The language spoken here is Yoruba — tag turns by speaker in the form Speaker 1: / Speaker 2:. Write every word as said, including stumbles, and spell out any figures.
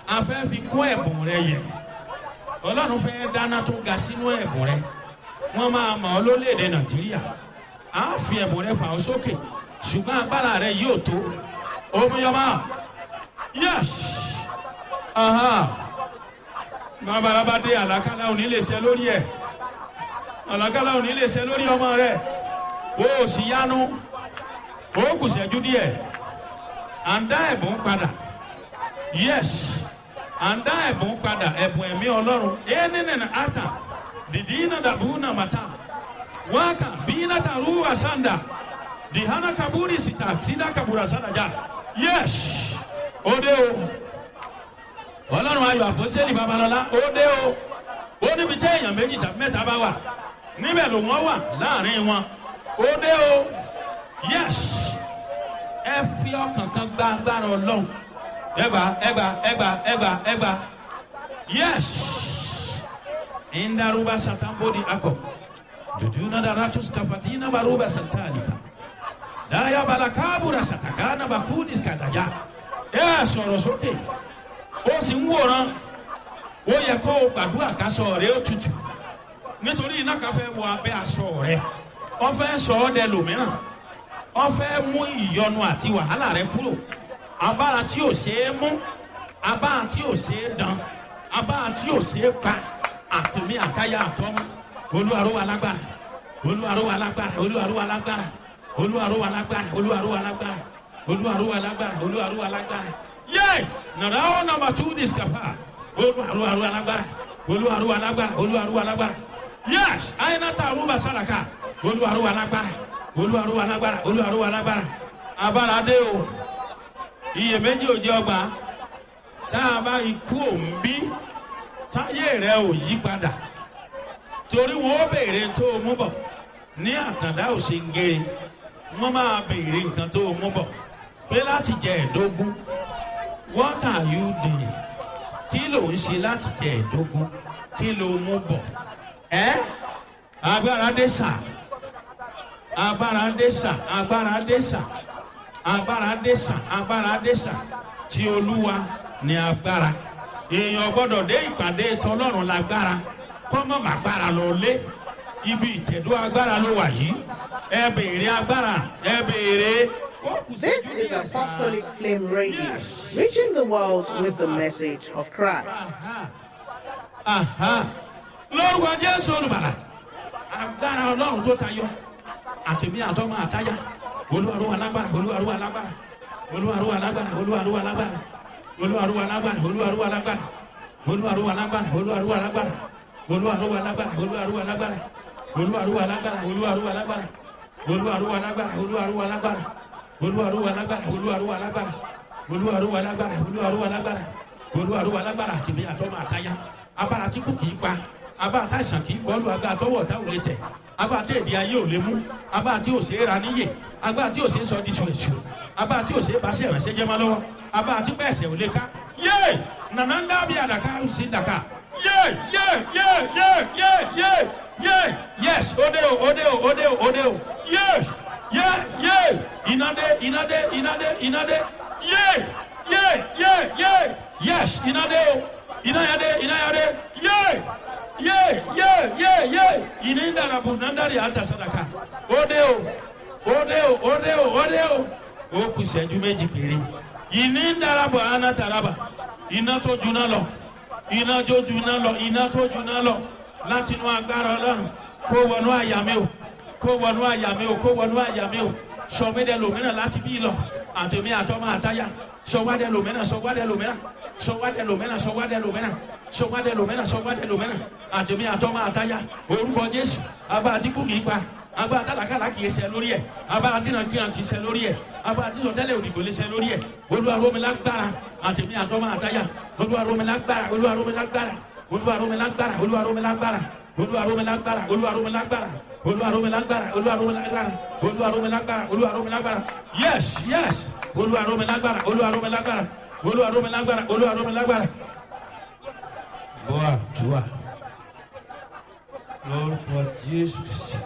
Speaker 1: A fẹ́ fi kún ẹ̀bùn rẹ yẹ. Ọlọ́run fẹ́ dáná tó ga sínú ẹ̀bùn rẹ. Wọ́n máa mọ̀ ọ́ lórílẹ̀‐èdè Nàìjíríà. A fi ẹ̀bùn rẹ fà ọ́ sókè, ṣùgbọ́n agbára rẹ yóò tó. Omiyọba, yes, babalaba dé, àlàkálà òní lè ṣe lórí ẹ̀. Àlàkálà òní lè ṣe lórí ọmọ rẹ. O ò sì yanu. O kù ṣẹ́jú díẹ̀. À ń dá ẹ̀bùn padà. Yes, à ń dá ẹ̀bùn padà, ẹ̀bùn ẹ̀mí Ọlọ́run. Ẹ̀ẹ́nìnìnà ata dìdínà dàbúnà màtá wákà bínà tàrú àsàndà dìhánà kabúrì síta sídà kabúrà sàdájà. Yes, ó dé o. Ọlọ́run Ayọ̀ Àpọ́sẹ́lì Babalọ́lá, ó dé o. Ó níbi tí èèyàn méjì tàbí mẹ́ta bá wà, níbẹ̀ ló wọ́n wà láàrin wọn. Ó dé o. Yes, ẹ fi ọkàn kan gba agbára Ọlọ́run. Ẹgbà, ẹgbà, ẹgbà, ẹgbà, ẹgbà. Yes, indaruba satambodi ako jujuna daratus kafatina baruba santalika daya balakabura satakana bakudis kadaja. Ẹ sọ̀rọ̀ sókè, ó sì ń wòran. Ó yẹ kó o gbàdúrà ká sọ rẹ ó tutù, nítorí iná kan fẹ́ wọ abẹ́ aṣọ rẹ. Wọ́n fẹ́ sọ ọ́ dẹ lòmíràn. Wọ́n fẹ́ mú ìyọnu àti wàhálà rẹ kúrò. Abára tí ò ṣeé mú, abára tí ò ṣeé dán, abára tí ò ṣeé pa, àtìmí àtayá àtọ́mú. Olúwarúwa lágbára, Olúwarúwa lágbára, Olúwarúwa lágbára, Olúwarúwa lágbára, Olúwarúwa lágbára, Olúwarúwa lágbára, Olúwarúwa lágbára. Yé, nàrà ó nàmbà tú discapa. Olúwarúwa lágbára, Olúwarúwa lágbára, Olúwarúwa lágbára. Yés, àyínátà arúgbà sàràkà. Olúwarúwa lágbára, Olúwarúwa lágbára, Olúwarúwa lágbára. Abára dé o. Iyèméjì ò jẹ́ ọgbà. Tá a bá ikú òun bí táyé rẹ ò yí padà, torí wọn ó béèrè tó o mú bọ̀ ní Àtàndá Òsèǹgèrè. Wọn máa béèrè nǹkan tó o mú bọ̀ pé láti jẹ ẹ̀dógún, what are you doing? Kí ló ń ṣe láti jẹ ẹ̀dógún? Kí ló mú bọ̀ ẹ́? Agbára dé sà, agbára dé sà, agbára dé sà, agbára dé sà, agbára dé sà. Tí Olúwa ní agbára. Èèyàn gbọ́dọ̀ dé ìpàdé tọlọ́run lágbára kọ́mọ́ màgbára lọ lé. Ibi ìtẹ̀dó agbára ló wà yìí. Ẹ béèrè agbára, ẹ béèrè.
Speaker 2: This is Apostolic Flame Radio, reaching the world with the message of Christ.
Speaker 1: Aha. Lórúkọ Jésù Olùbàlà, agbára Ọlọ́run tó tayọ, àtẹ̀mí àtọ́mọ àtáyà, Olúwarúwa lágbára, Olúwarúwa lágbára, Olúwarúwa lágbára, Olúwarúwa lágbára, Olúwarúwa lágbára, Olúwarúwa lágbára, Olúwarúwa lágbára, Olúwarúwa lágbára, Olúwarúwa lágbára, Olúwarúwa lágbára, Olúwarúwa lágbára, Olúwarúwa lágbára, Olúwarúwa lágbára, Olúwarúwa lágbára, Olúwarúwa lágbára, Olúwarúwa lágbára, Olúwarúwa lágbára, Olúwarúwa lágbára, Olúwarúwa lágbára. Àtìmí àtọ́mọ àtayá, abára tí kò kì í pa, abá àtàìsàn kì í kọlu, agbá àtọwọ́ ọ̀tá ò lè tẹ̀, abá àti èdè ayé ò lè mú, abá àti òsè ra níyè, agbá àti òsè sọ di sùrẹ̀sù, abá àti òsè bá sí ẹ̀rẹ̀sẹ̀ jẹ́ máa lọ́wọ́, abá àti pẹ̀sẹ̀ ò lè ká. Yé, nànà ń dábì àdàkà ó sì dàkà. Yé, yé, yé, yé, yé, yé, yé. Yes, òde o, òde o, òde o, òde o. Yes, yé, yé, ìnàdé, ìnàdé, ìnàdé, ìnàdé. Yé, yé, yé, yé. Yes, ìnàdé o, ìnáyàdé, ìnáyàdé. Yé, yé, yé, yé, yé. Ìní ń dàrà bù nàndàrí àtà sàdàkà. Òde o, òde o, òde o, òde o. Ó kù sẹ́jú méjì péré. Ìní ń darapọ̀ àná taraba. Iná tó juná lọ, iná tó juná lọ, iná tó juná lọ láti inú agbára Ọlọ́run kó wọnú àyà mi o, kó wọnú àyà mi o, kó wọnú àyà mi o. Sọmídẹ lòmíràn láti bí lọ, àtẹmí àtọmọ àtayá. Sọwádẹ lòmíràn, sọwádẹ lòmíràn, sọwádẹ lòmíràn, sọwádẹ lòmíràn, sọwádẹ lòmíràn, sọwádẹ lòmíràn, àtẹmí àtọmọ àtayá. Orúkọ Jésù, abá àti kú kìí pa, agbára tálákàlà kìí ṣe lórí ẹ, agbára tí nàìjíríà kìí ṣe lórí ẹ, agbára tí sọtẹ́lẹ̀ òdìgbò lè ṣe lórí ẹ. Olúwa rómi lágbára, àtẹmí àtọmọ àtayá. Olúwa rómi lágbára, Olúwa rómi lágbára, Olúwa rómi lágbára, Olúwa rómi lágbára, Olúwa rómi lágbára, Olúwa rómi lágbára, Olúwa rómi lágbára, Olúwa rómi lágbára, Olúwa rómi lágbára, Olúwa rómi lágbára. Yes, yes, Olúwa rómi lágbára, Olúwa rómi lágbára, Olúwa rómi lágbára, Olúwa rómi lágbára. Bọ́ àdúrà lórúkọ Jésù.